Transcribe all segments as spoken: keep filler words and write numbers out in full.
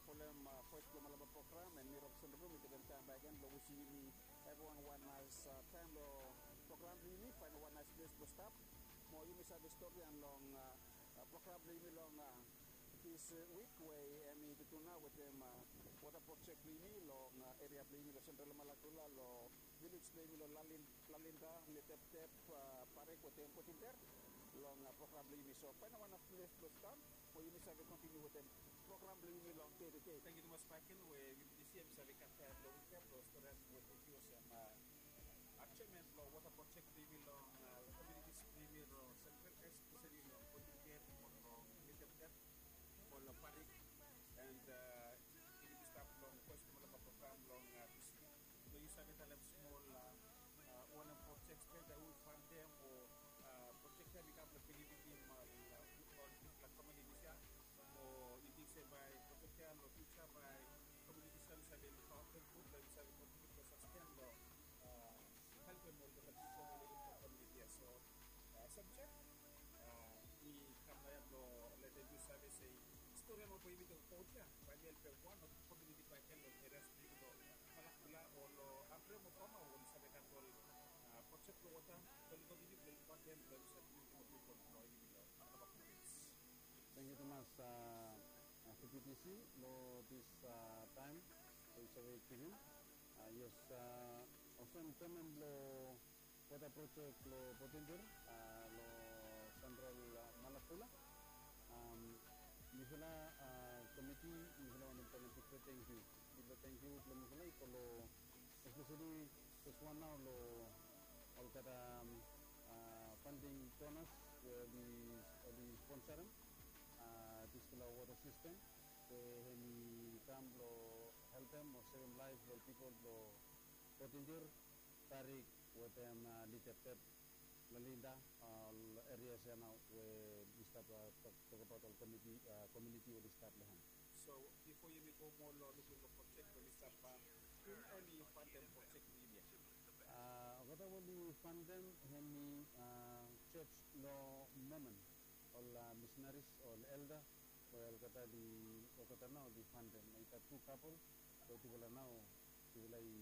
Folem, a, Voice blong Malampa program, and mi Robson Rubio, mi tekem taem bakegen blong wishing yumi evriwan wan naes, a, taem long program blong yumi, faenem wan naes ples blong stap. Mo yumi save stori long, a, a, program blong yumi long, a, dis, a, wik we hemi tutu nao wetem, a, wota projek blong yumi long, a, eria blong yumi long Central Malakula, long vilej blong yumi long Lalin-, Lalinda, Liteptep, a, Parik wetem Potinder long, a, program blong yumi. So faenem wan naes ples blong stap mo yumi save kontiniu wetem program blong yumi long dei tede. Tangkiu tumas Michael we yumi disi yumi save gat taem blong wik ya blong stori wetem yu olsem, a, a, jeaman blong wota projek blong yumi long, a, komiunitis blong yumi long Central, espeseli long Potinder mo long Liteptep mo long Parik. And, a, yumi stap long Voice blong Malampa program long, a, dis wik blong yu save talem smol, a, a, wanem projek stret we yu faenem o, a, projek ya i kam blong benefitim, a, ol bigfala komiunitis ya. O yu ting se bae projek ya long fiuja bae komiunitis ya i save lukaotem gud blong i save kontiniu blong sasten long, a, helpem ol difelan pipol we i lef long komiuniti ya. So, a, sabjek, a, i kam naoia blong letem yu save se stori ya we yumi tokbaot ya bae i helpem wan o tu komiuniti bakegen long eria blong yumi long Malakula o long Apere mo Bamao we oli save gat ol, a, projek blong wota, oli kontiniu blong lukaotem blong i save komiuniti mo pipol blong yumi long Malampa komiuniti. Tangkiu tumas, a, a, V P T C long dis, a, taem we yu save givim. A, yes, a, olsem jeaman blong wota projek long Potinder, a, long Central, a, Malakula. Am, mifala, a, komiti, mifala wantem talem bigfala tangkiu. Bigfala tangkiu blong mifala i go long, espeseli fes wan nao long olgeta, am, a, funding donors we oli, oli sponsorem, a, disfala wota sistem we hemi kam blong helpem o sevem laef blong ol pipol blong Potinder, Parik wetem, a, Liteptep, Lalinda, a, ol erias ya nao we mi stap, a, tok, tokbaot ol komiuniti, a, komiuniti we oli stap long hem. So bifo yumi go moa long lukluk long projek we oli stap, a, humi hemi faondem projek blong yumi ya? A, olgeta we oli faondem hemi, a, jos blong Momon, ol, a, misenaris, ol elda we olgeta oli, olgeta nao oli faondem. I gat tu kapol we tufala nao tufala i,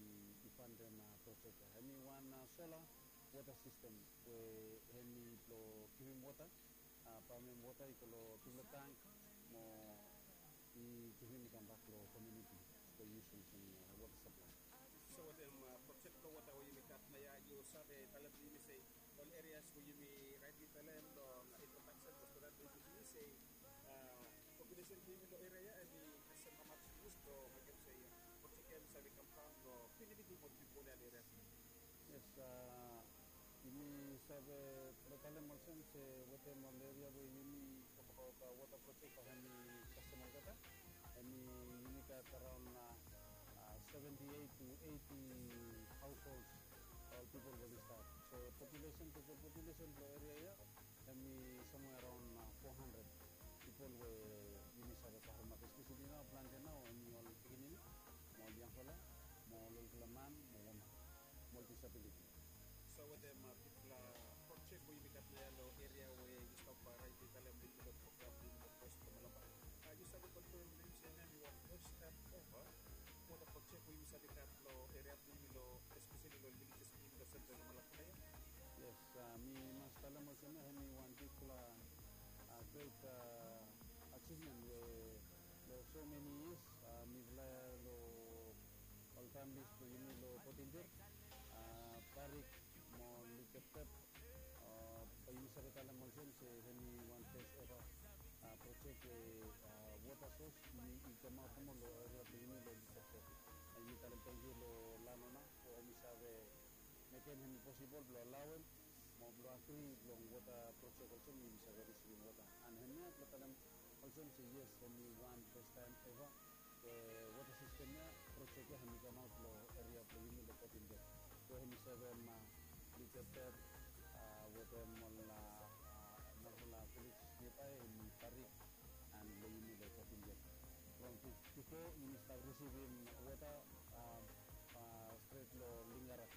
i faondem, a, projek ya. Hemi wan, a, sola wota sistem we hemi blong givim wota, a, pamem wota i go long tufala tang mo i givim i kambak long komiuniti blong yusum olsem, a, wota saplae. So wetem, a, projek blong wota we yumi gat naoia, yu save talem blong yumi se ol erias we yumi raet i talem long introdaksen blong stori blong yumi se, a, populesen blong yumi long eria ya hemi kasem hamas yus blong mekem se, a, projek ya hemi save kam daon blong benefitim ol pipol ya long eria blong yumi? Yes, a, yumi save talem olsem se wetem ol eria we yumi tokbaot, a, wota projek bae hemi kasem olgeta, hemi yumi gat araon, a, a, seventy-eight to eighty households, ol pipol we oli stap. So populesen, total populesen blong eria ya hemi somewhere around, a, four hundred pipol we yumi save karemap, espeseli nao plante nao hemi ol pikinini mo ol yangfala mo ol olfala man mo woman mo ol disabiliti. So wetem, a, bigfala projek we yumi gat naoia long eria we yu stap, a, raet i talem long program blong yumi long Voice blong Malampa, a, yu save konfam blong yumi se hemia hemi wan fes taem eva wota projek we yumi save gat long eria blong yumi long, espeseli long vilejes blong yumi long Central Malakula ya? Yes, a, mi mas talem olsem ya hemi wan bigfala, a, gret, a, ajivmen we long so meni yias, a, mifala long ol familis blong yumi long Potinder, a, Parik mo Liteptep, a, bae yumi save talem olsem se hemi wan fes eva, a, projek we, a, wota sos i, i kamaot nomo long eria blong yumi long Liteptep. A, yumi talem tangkiu long lanona we hemi save mekem hemi posibol blong alaoem mo blong agri blong wota projek olsem yumi save risivim wota. An hemia blong talem olsem se yes, hemi wan fes taem eva we wota sistem ya, projek ya hemi kamaot long eria blong yumi long Potinder we hemi sevem, a, Liteptep, a, wetem ol, a, a, narafala vilej niabae hemi Parik an long yumi long Potinder. From bi-, bifo yumi stap risivim wota, a, a, stret long Lingarak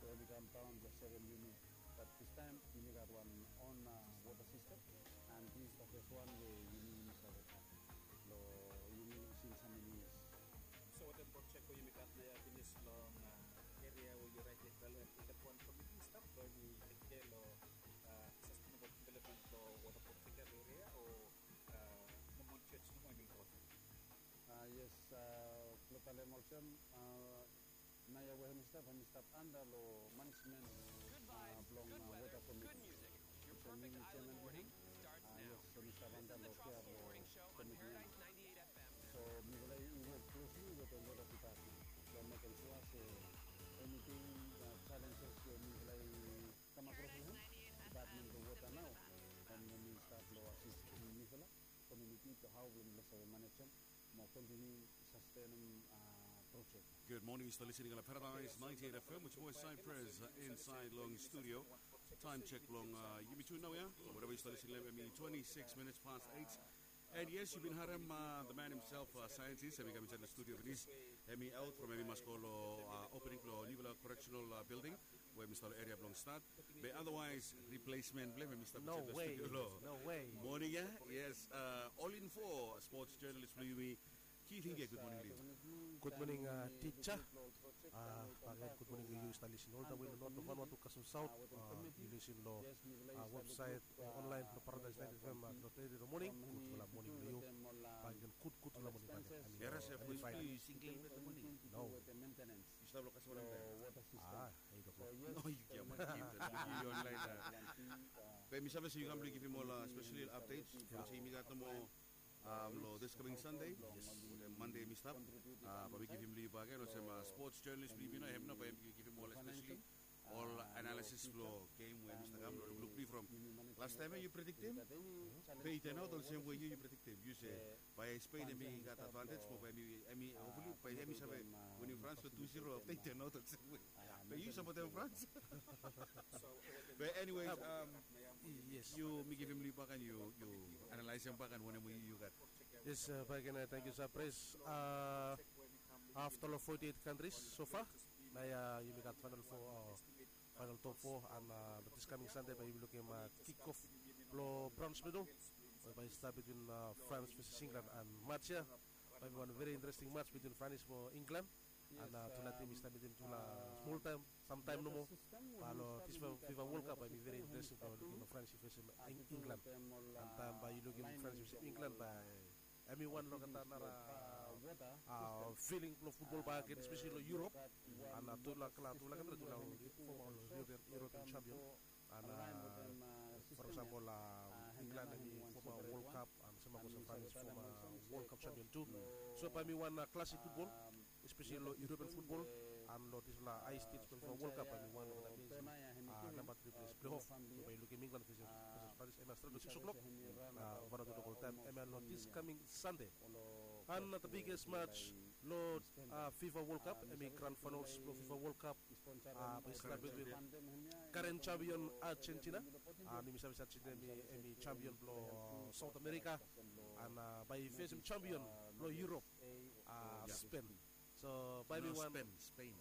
we hemi kam daon blong sevem yumi. Bat distaem yumi gat wan on, a, wota sistem, an dis is the fes wan we yumi, yumi save gat long yumi long Sing Sami Raet, i kole, i gat wan komiti stap blong hemi tek kea long, a, sustainable development blong wota protection eria o, a, no monitors nomo hemi project. A, yes, a, blong talem olsem, a, naoia we hemi stap, hemi stap anda long manejmen, a, blong, a, wota komiti. Olsem mi, mi jeman blong hem, a, yes, hemi stap anda long kea blong komiti ya. So mifala i wok klosli wetem wota dipatmen blong mekem sua se eniting, a, jalenjes we mifala i kam akros long hem, dipatmen blong wota nao hemi stap long asistem mifala komuniti long hao blong mifala save manejem mo kontiniu sastenem, a, projek. Good morning, yu stap listening long Paradise ninety-eight F M, which boy Cypress, uh, inside long studio. Time check long, uh, yumi tu naoia. Whatever yu stap listening, hemi twenty-six minutes past eight. And yes, yu bin harem, uh, the man himself, uh, scientist, hemi kam insait long studio finis. Hemi out from, hemi mas go long, uh, opening blong nufala correctional, uh, building we hemi stap long eria blong Stad. Be otherwise, replacement blong hem hemi stap insait long studio long moning ya. Yes, uh, All Info sports journalist blong yumi, Keith Hingia, good morning long yu. Good morning, uh, tija. Uh, bakegen good morning long yu, yu stap lisin oltawe long North, long Vanuatu kasem South. Uh, yu lisin long, uh, website, uh, online long Paradise ninety-eight F M, uh, dot A D long moning. Gudfala moning long yu. Bakegen gud, gudfala moning bakegen. Era se, hemi fine. Yu single long moning? No. Yu stap long kasem wanem taem? Ah, eight o'clock. No, yu kiam, yu online, uh. Be mi save se yu kam blong givim ol, uh, special updates. Olsem yumi gat nomo, um, long this coming Sunday, wetem Monday hemi stap. Uh, bae mi givim long yu bakegen olsem, uh, sports journalist blong yumi nao, hem nao bae hemi givim ol, especially ol analysis blong game we hemi stap kam long lukluk blong yu from last taem ya yu prediktem. Be i turn out olsem we yu, yu prediktem. Yu se bae Spain hemi gat advantage mo bae hemi, hemi, hopefully bae hemi save winim France long two zero afta i turn out olsem we. Be yu sapotem France. Be anyways, um, yes, yu, mi givim long yu bakegen, yu, yu analaesem bakegen wanem we yu, yu gat. Yes, uh, bakegen, uh, tangkiu Cypress. Uh, afta long forty-eight countries so far, naoia, uh, yumi gat final four, uh, final top four, and, uh, this coming Sunday bae yumi lukim, uh, kick off blong bronze medal we bae i stap between, uh, France versus England, and match ya bae hemi wan very interesting match between France mo England. And, uh, tufala tim i stap mitim tufala smol taem, samtaem nomo. Be long this FIFA World Cup bae hemi very interesting blong lukim France i fesem Eng-, England. And taem bae yu lukim France i fesem England, bae hemi wan long kata nara, uh, feeling blong futbol bakegen, especially long Europe. And, uh, tufala, tufala kantri, tufala ol former ol European, European champion. And, uh, for example, uh, England hemi former World Cup, and sem olsem France former World Cup champion tu. So bae hemi wan, uh, classic futbol, especially long European futbol, and long disfala high stakes blong FIFA World Cup, bae hemi wan long the place, uh, namba tri place playoff. So bae yu lukim England versus, versus France, hemia stret long six o'clock, uh, Vanuatu local taem, hemia long this coming Sunday. And the biggest match long, uh, FIFA World Cup, hemi grand finals blong FIFA World Cup, uh, bae i stap between current champion Argentina. And yumi save se Argentina hemi, hemi champion blong, uh, South America. And, uh, bae i fesem champion blong Europe, uh, Spain. So bae hemi wan, Spain, Spain.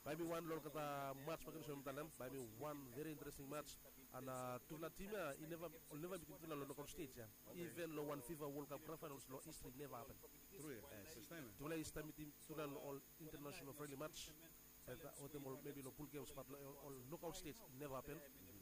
Bae hemi wan long olgeta match bakegen olsem mi talem, bae hemi wan very interesting match. And, uh, tufala tim ya i neva, oli neva mitim tufala long knockout stage ya. Even long wan FIFA World Cup grand finals long history neva hapen. Tufala i stap mitim tufala long ol international friendly match, wetem ol maybe long pool games, but long ol, ol knockout stage i neva hapen.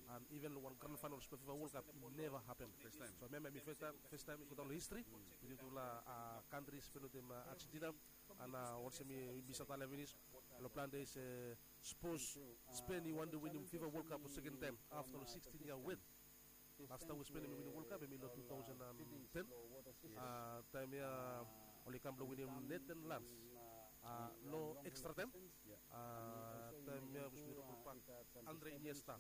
And even long wan grand finals blong FIFA World Cup i neva hapen. So hemia hemi fes taem, fes taem i go daon long history mitim tufala, uh, kantri Spain wetem, uh, Argentina. And, uh, olsem mi, mi save talem finis, long plan de se, uh, sapos Spain i wantem winim FIFA World Cup long seken taem afta long sixteen yia wet. Las taem we Spain hemi winim World Cup hemi long two thousand and ten. Uh, taem ya oli kam blong winim Netherlands, uh, long extra time. Uh, taem ya we mi ripot bak, Andre Iniesta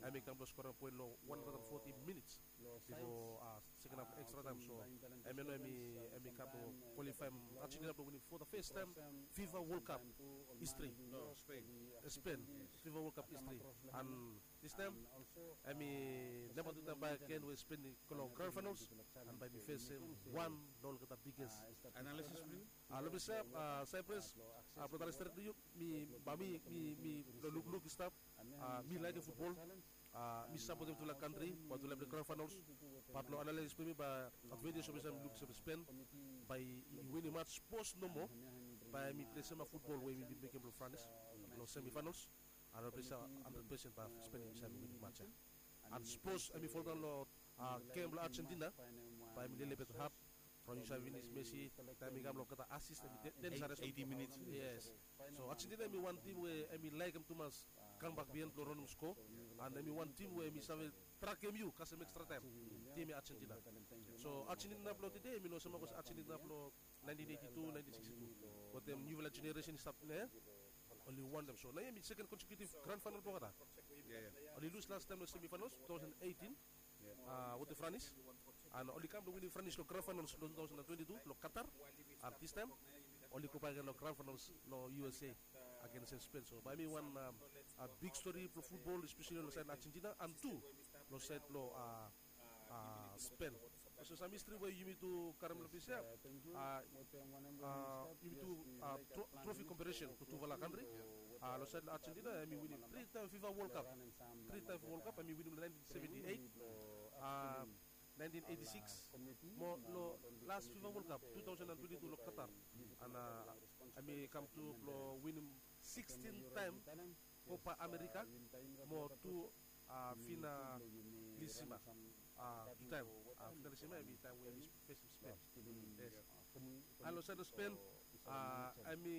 hemi kam blong skorem poen long one hundred and forty minutes bifo, uh, seken haf extra time. So hemia nao hemi, hemi kam blong kwalifaem Argentina blong winim for the first time FIFA World Cup history. Spain. Spain, FIFA World Cup history. And this time hemi namba tu taem bakegen we Spain i go long grand finals, and bae hemi fesem wan long olgeta biggest. Analysis blong yu? Uh, long mi se, uh, Cypress, uh, blong talem stret long yu, mi, bae mi, mi, mi, long lukluk i stap, uh, mi laekem futbol. Mi sapotem tufala kantri bae tufala i plei grand finals. Bat long analais blong mi bae advantage blong mi save luk save Spen bae i winim mats. Sapos nomo bae mi plei sem futbol we mi bin mekem long Franis long semi finals. An mi plei sem handred pesen bae Spen i save winim mats ya. An sapos em i foldaon long gem blong Argentina bae em i lelebet had. From yu save finis Messi taem i kam long olgeta asis em i ten sares. Yes. So Argentina em i wan tim we em i laekem tumas kambak bihaen blong raonem sko. An em i wan tim we em i save trakem yu kasem ekstra taem. Tim ya Argentina. So Argentina blong tede em i no olsem olgeta Argentina blong naentin eiti tu, naentin siksti tu. Wetem niufala jeneresen i stap nao ya, oli wantem. So nao ya em i seken konsekutiv grand faenal blong olgeta. Oli lus lastaem long semi faenals tu taosen eitin wetem Franis. An oli kam blong winim Franis long grand faenals long tu taosen twenti tu long Katar. An distaem oli go bak gen long grand faenals long U S A agens Spen. So bae em i wan big stori blong futbol, espeseli long saed Argentina an tu long saed blong Spen. Olsem sam histri we yumi tu karem long ples ya, yumi tu trofi kompetishen blong tufala kantri. Long saed long Argentina em i winim tri taem FIFA World Cup. Tri taem FIFA World Cup em i winim long naentin seventi eit, naentin eiti sikis, mo long las FIFA World Cup tu taosen twenti tu long Katar. An em i kam tu blong winim sikstin taem Kopa Amerika mo tu finalisima. Tu taem finalisima em i taem we em i fesem Spen. Yes. An long saed long Spen em i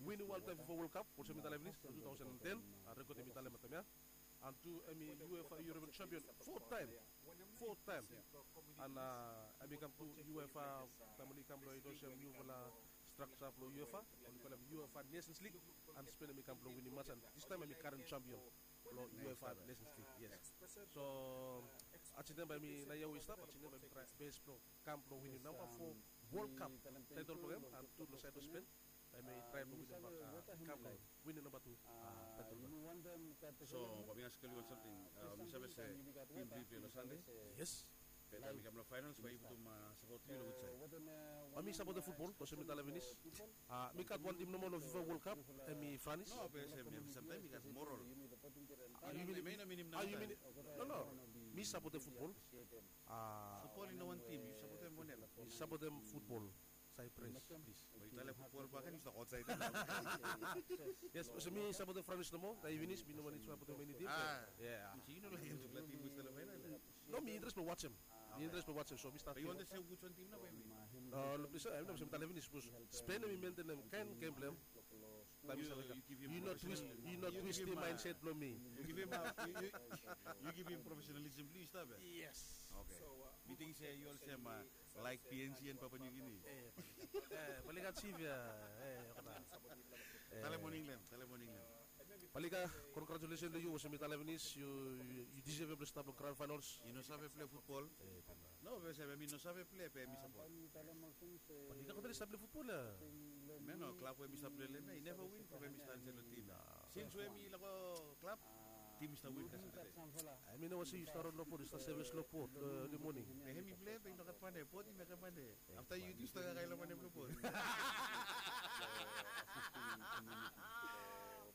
winim wan taem FIFA World Cup olsem mi talem finis long tu taosen ten. Rekod em i talem long taem ya. An tu em i UEFA European champion fo taem. Fo taem. An em i kam tu UEFA taem oli kam blong indosim niufala strakja blong UEFA, oli kolem UEFA Nations League. An Spen em i kam blong winim mats an distaem em i karen champion blong UEFA Nations League. Yes. So Argentina bae em i nao ya we i stap, Argentina bae em i traem bes blong kam blong winim namba fo World Cup taetol blong hem. An tu long saed blong Spen bae em i traem blong winim namba kam blong winim namba tu taetol blong hem. So bae mi askem yu wan samting. Mi save se tim blong yu i plei long Sande. Yes. Be taem i kam long faenals bae yu putum sapot blong yu long which saed? Bae mi sapotem futbol olsem mi talem finis. Mi gat wan tim nomo long FIFA World Cup, em i Franis. No, be olsem ya, samtaem i gat moral. Yu minim, yu minim nao. No, no. Mi sapotem futbol. Futbol i no wan tim, yu sapotem wan ya. Mi sapotem futbol. Saipres, plis. Be yu talem futbol bakegen yu stap aotsaed. Yes, olsem mi sapotem Franis nomo. Taem i finis mi no wantem sapotem eni tim. Yu no laekem tufala tim we i stap long faenal ya? No, mi interes blong wajem. Mi interes blong wajem, so mi stap. Be yu wantem se which wan tim nao bae i win? Long ples ya, em nao olsem mi talem finis, sapos Spen em i mentenem kaen gem blong hem, bae mi save. Yu no twis, yu no twistim maenset blong mi. Yu givim, yu givim profesionalism blong yu i stap ya? Yes. Oke. Mi ting se yu olsem laek P N G and Papua New Guinea. Palika, Chief ya. Talem wan England, talem wan England. Palika, congratulations long yu, olsem mi talem finis, yu, yu deserve blong stap long grand finals. Yu no save plei futbol? No, be olsem mi no save plei be mi sapot. Palika, kotari stap plei futbol ya. Me no, klab we mi stap plei long hem ya i neva win from we mi stap insaed long tim ya. Sins we mi lego klab, tim i stap win kasem. Em i no wantem se yu stap rod long bot, yu stap sevis long bot long eli moning. Be hem i plei be i no gat mane, bot i mekem mane. Afta yu tu yu stap kakae long mane blong bot.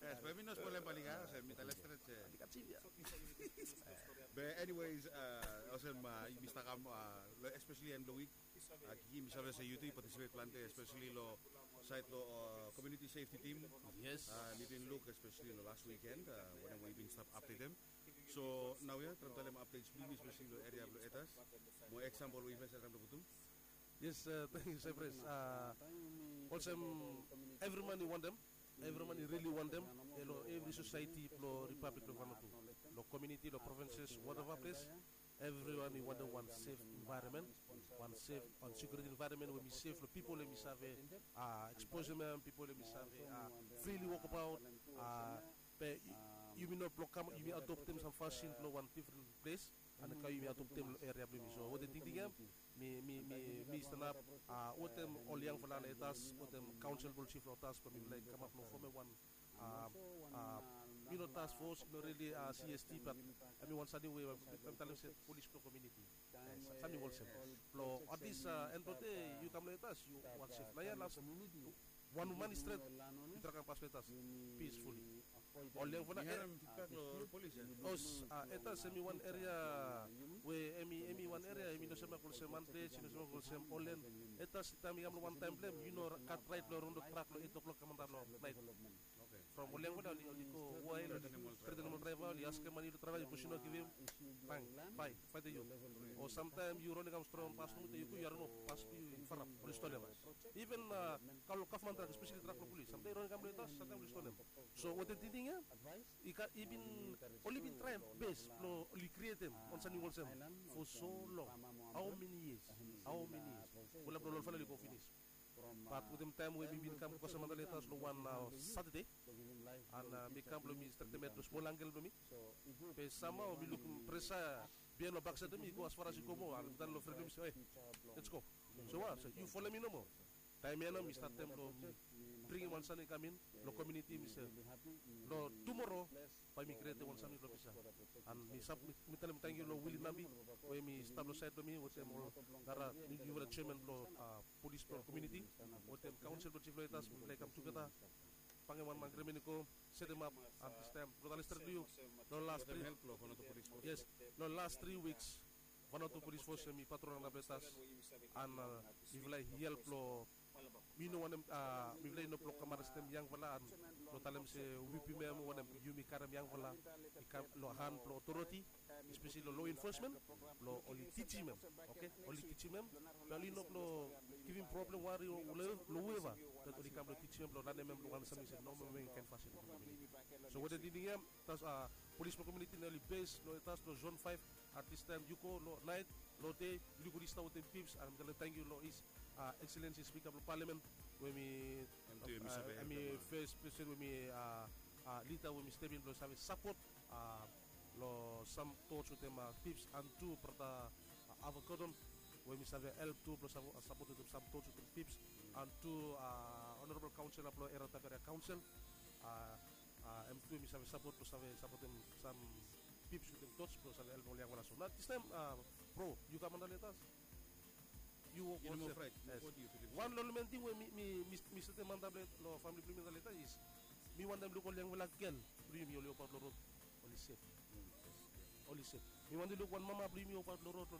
Yes, be mi no spolem Palika, olsem mi talem stret se. Be anyways, olsem mi stap kam long especially end blong wik. Kiki, mi save se yu tu yu participate plante especially long saed long community safety team. Yes. Mi bin luk especially long las wikend wanem we yu bin stap updatem. So naoia traem talem updates blong yumi especially long eria blong Etas mo eksampol we yumi save traem long putum. Yes, tangkiu Saipres. Olsem evri man i wantem, evri man i rili wantem, long evri sosaeti blong Ripablik blong Vanuatu, long komuniti, long provinses, whatever ples, evriwan i wantem wan sef envaeronmen, wan sef, wan sekiuriti envaeronmen we i sef long pipol hem i save eksposem hem, pipol hem i save frili wokbaot. Be yumi no blok kam, yumi adoptem sam fasin blong wan difren ples, an kam yumi adoptem long eria blong yumi. So wetem tingting ya mi, mi, mi, mi stanap wetem ol yangfala long Etas, wetem kaonsel blong jif long Etas, blong mifala i kamap long fomem wan, yu no, task force, i no rili C S T, bat em i wan samting we mi talem se polis blong komuniti, samting olsem. Blong at least end blong dei yu kam long Etas yu wantem sef. Naoia las wan man i stret i trae kam pas long Etas peacefully. Ol yangfala, eh, Os, ah, Etas hemi wan eria we hemi, hemi wan eria hemi no semak olsem Manples, i no semak olsem Olen. Etas taem i kam long wan taem blong hem, yu no gat raet blong ron long trak long eit o'klok kam antap long naet. From ol yangfala oli, oli go wael, oli tretem ol draeva, oli askem mane long draeva, sapos yu no givim, bang, bae, faetem yu. O samtaem yu ron i kam strong pas nomo, yu go, yu harim pas blong yu i farap, oli stolem. Iven, ah, kam long gavman trak, espeseli trak blong polis, samtaem yu ron i kam long Etas, samtaem oli stolem. So wetem tingting ya, i gat, i bin, oli bin traem bes blong oli krietem wan samting olsem for so long. How many years? How many years? Fulap long ol fala oli go finis. Bat wetem taem we mi bin kam go kasem antap long Etas long wan, ah, Satade, an, ah, mi kam blong mi stretem hed long smol angkel blong mi. Be samhao mi lukim presa biaen long baksaed blong mi i go asfaras i go moa, an mi talem long fren blong mi se, "Oe, let's go." So wa, so yu folem mi nomo. Taem ya nao mi statem blong mi bringim wan samting i kam in long komuniti, mi se long tumoro bae mi krietem wan samting long Visa. An mi save, mi, mi talem tangkiu long Willie Nambi we mi stap long saed blong mi wetem ol nara niufala jeaman blong, ah, polis blong komuniti wetem kaonsel blong jif long Etas, mifala i kam tugeta, bangem wan agrimen i go, setemap, an distaem blong talem stret long yu, long las tri, yes, long las tri wiks Vanuatu Polis Fos hemi patrol antap long Etas, an, ah, mifala i help long, mi no wantem, ah, mifala i no blong kam arestem yangfala an blong talem se wipim hem, wantem yumi karem yangfala i kam long han blong otoriti, espeseli long law enforcement, blong oli tijim hem. Oke, oli tijim hem, be oli no blong givim problem, wari long whoever, be oli kam blong tijim hem, blong lanem hem long wan samting se no moa, kaen fasin. So wetem tingting ya, Etas, ah, polis blong komuniti nao oli bes long Etas long zon faef. At this time yu go long naet, long dei, yu lukim oli stap wetem pips, an mi talem tangkiu long His, ah, Excellency Spika blong Palamen we mi, hemi fes pesin we mi, ah, ah, lida we mi step in blong save sapot, ah, long sam tots wetem, ah, pips, an tu brata, ah, Avogadon we mi save help tu blong save, ah, sapot wetem sam tots wetem pips, an tu, ah, honorable kaonsela blong Eria Taf Eria Kaonsel, ah, ah, hem tu hemi save sapot blong save sapotem sam pips wetem tots blong save helpem ol yangfala. So nao distaem, ah, bro, yu kam antap long Etas. Yu wok wan sef. Wan long ol main ting we mi, mi, mi, mi setem antap long famili blong yumi antap long Etas is mi wantem luk ol yangfala gel blong yumi oli wokbaot long rod oli sef. Oli sef. Mi wantem luk wan mama blong yumi wokbaot long rod,